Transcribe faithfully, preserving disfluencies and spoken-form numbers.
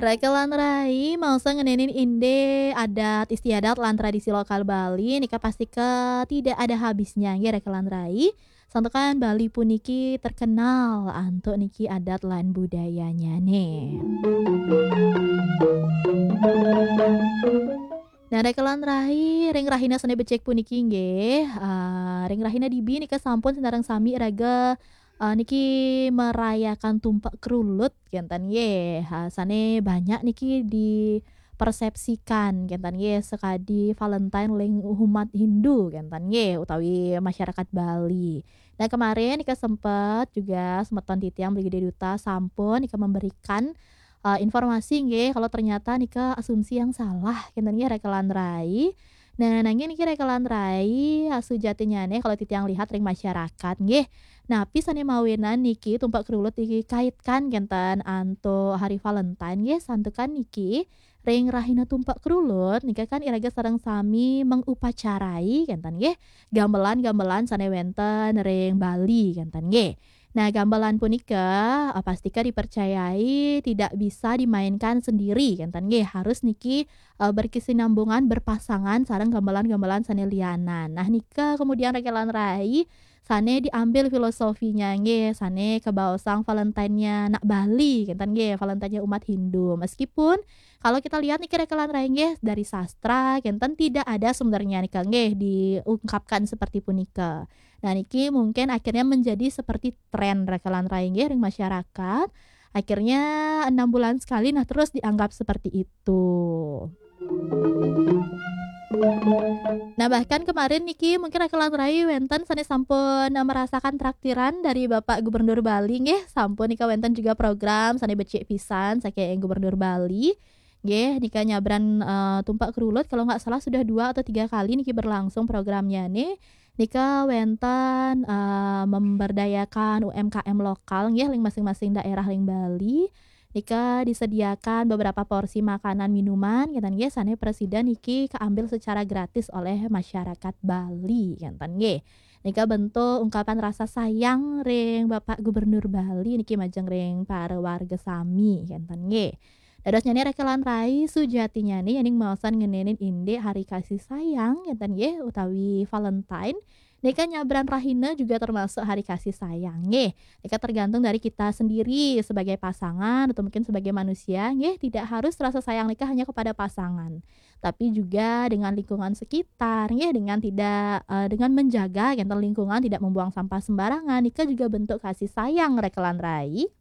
Rekelan rai, maosan ngenenin inde adat istiadat lan tradisi lokal Bali, nika pasti ke tidak ada habisnya, nggih, Rekelan rai. Santukan Bali puniki terkenal antuk niki adat lan budayanya nih. Nah, Rekelan rai, ring rahina sane becik puniki nggih, eh, ring rahina dibi nika sampun sinareng sami raga, eh, niki merayakan tumpak kerulut, kenten nggih. Ha, sane banyak niki dipersepsikan, kenten nggih, sekadi Valentine ring umat Hindu, kenten nggih, utawi masyarakat Bali. Nah, kemarin nika sempat juga semeton titiang Beli Gede Duta sampun nika memberikan, eh, informasi nggih, kalau ternyata nika asumsi yang salah, kenten nggih, Rekelan rai. Nah, nanging niki Rekelan rai, sujatinyane kalau titiang lihat ring masyarakat nggih. Napi sane mawinan niki tumpak kerulut dikaitkan kenten antuk hari Valentine nggih, santukan niki ring rahina tumpak kerulut nika kan iraga sareng sami mengupacarai kenten nggih, gamelan-gamelan sane wenten ring Bali kenten nggih. Nah, gamelan punika, eh, pastika dipercayai tidak bisa dimainkan sendiri kenten nggih, harus niki, eh, berkesinambungan, berpasangan sareng gamelan-gamelan sane lianan. Nah, nika kemudian Rekelan rai sane diambil filosofinya nggih, sane kebaosang Valentine-nya nak Bali kenten nggih, Valentine-nya umat Hindu. Meskipun kalau kita lihat niki Rekelan rai nggih, dari sastra kenten tidak ada sebenarnya nika nggih diungkapkan seperti punika. Nah, niki mungkin akhirnya menjadi seperti tren Rekelan rai nggih ring masyarakat. Akhirnya enam bulan sekali, nah, terus dianggap seperti itu. Nah, bahkan kemarin niki mungkin Rekelan rai wenten sane sampun, eh, merasakan traktiran dari Bapak Gubernur Bali nggih, sampun nika wenten juga program sane becik pisan saking Gubernur Bali. Nggih, nika nyabran, eh, tumpak kerulut, kalau nggak salah sudah dua atau tiga kali niki berlangsung programnya nih. Nika wenten, eh, memberdayakan U M K M lokal nggih, ring masing-masing daerah ring Bali. Nika disediakan beberapa porsi makanan minuman, kenten nggih, sane presida niki keambil secara gratis oleh masyarakat Bali, kenten nggih. Nika bentuk ungkapan rasa sayang ring Bapak Gubernur Bali niki majeng ring para warga sami, kenten nggih. Dadosnyane Rekelan rai, sujatinyane yening maosan ngenenin indik hari kasih sayang, kenten nggih, utawi Valentine, nika nyabran rahina juga termasuk hari kasih sayang nggih. Nika tergantung dari kita sendiri sebagai pasangan atau mungkin sebagai manusia nggih, tidak harus rasa sayang nika hanya kepada pasangan, tapi juga dengan lingkungan sekitar nggih, dengan tidak, eh, dengan menjaga kenten lingkungan, tidak membuang sampah sembarangan, nika juga bentuk kasih sayang Rekelan rai.